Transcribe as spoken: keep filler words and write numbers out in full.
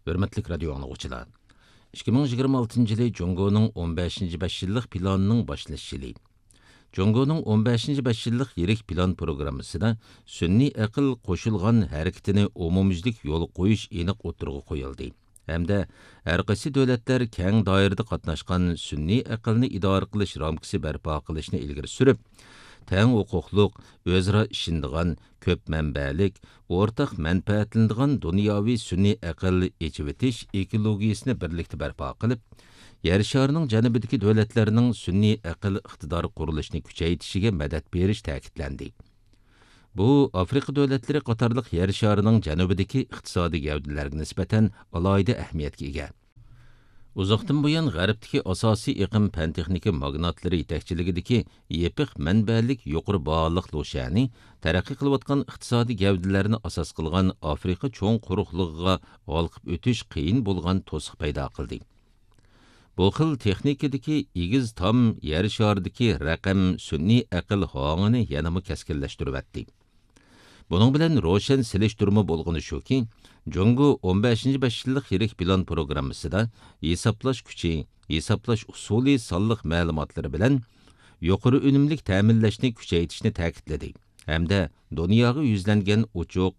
ھۆرمەتلىك رادىيو ئاڭلىغۇچىلار، ئىككى مىڭ يىگىرمە ئالتىنچى يىلى جۇڭگونىڭ ئون بەشىنچى بەش يىللىق پىلانىنىڭ باشلىنىش يىلى. جۇڭگونىڭ ئون بەشىنچى بەش يىللىق يىرىك پىلان پروگراممىسىدا سۈنئىي ئەقىل قوشۇلغان ھەرىكىتىنى ئومۇميۈزلۈك يولغا قويۇش ئېنىق ئوتتۇرىغا قويۇلدى ھەمدە ھەر قايسى دۆلەتلەر كەڭ دائىرىدە قاتناشقان سۈنئىي ئەقىلنى ئىدارە قىلىش رامكىسى بەرپا قىلىشنى ئىلگىرى سۈرۈپ، تەڭ ھوقۇقلۇق، ئۆزئارا ئىشىنىدىغان، كۆپ مەنبەلىك، ئورتاق مەنپەئەتلىنىدىغان دۇنياۋى سۈنئىي ئەقىل ئېچىۋېتىش ئېكولوگىيىسىنى بىرلىكتە بەرپا قىلىپ، يەر شارىنىڭ جەنۇبىدىكى دۆلەتلەرنىڭ سۈنئىي ئەقىل ئىقتىدارى قۇرۇلۇشىنى كۈچەيتىشىگە مەدەت بېرىش تەكىتلەندى. بۇ ئافرىقا دۆلەتلىرى قاتارلىق يەر شارىنىڭ جەنۇبىدىكى ئىقتىسادىي گەۋدىلەرگە نىسبەتەن ئالاھىدە ئەھمىيەتكە ئىگە. ئۇزاقتىن بۇيان غەربتىكى ئاساسىي ئېقىم پەن-تېخنىكا ماگناتلىرى يېتەكچىلىكىدىكى يېپىق مەنبەلىك يۇقىرى باھالىق لۇشيەنى تەرەققىي قىلىۋاتقان ئىقتىسادىي گەۋدىلەرنى ئاساس قىلغان ئافرىقا چوڭ قۇرۇقلۇقىغا ھالقىپ ئۆتۈش قىيىن بولغان توسۇق پەيدا قىلدى. بۇ خىل تېخنىكىدىكى ئېگىز تام يەر شارىدىكى رەقەم سۈنئىي ئەقىل ھاڭىنى يەنىمۇ كەسكىنلەشتۈرۈۋەتتى. بۇنىڭ بىلەن روشەن سېلىشتۇرما بولغىنى شۇكى، جۇڭگو ئون بەشىنچى بەش يىللىق يىرىك پىلان پروگراممىسىدا ھېسابلاش كۈچى، ھېسابلاش ئۇسۇلى سانلىق مەلۇماتلىرى بىلەن يۇقىرى ئۈنۈملۈك تەمىنلەشنى كۈچەيتىشنى تەكىتلىدى ھەمدە دۇنياغا يۈزلەنگەن ئوچۇق،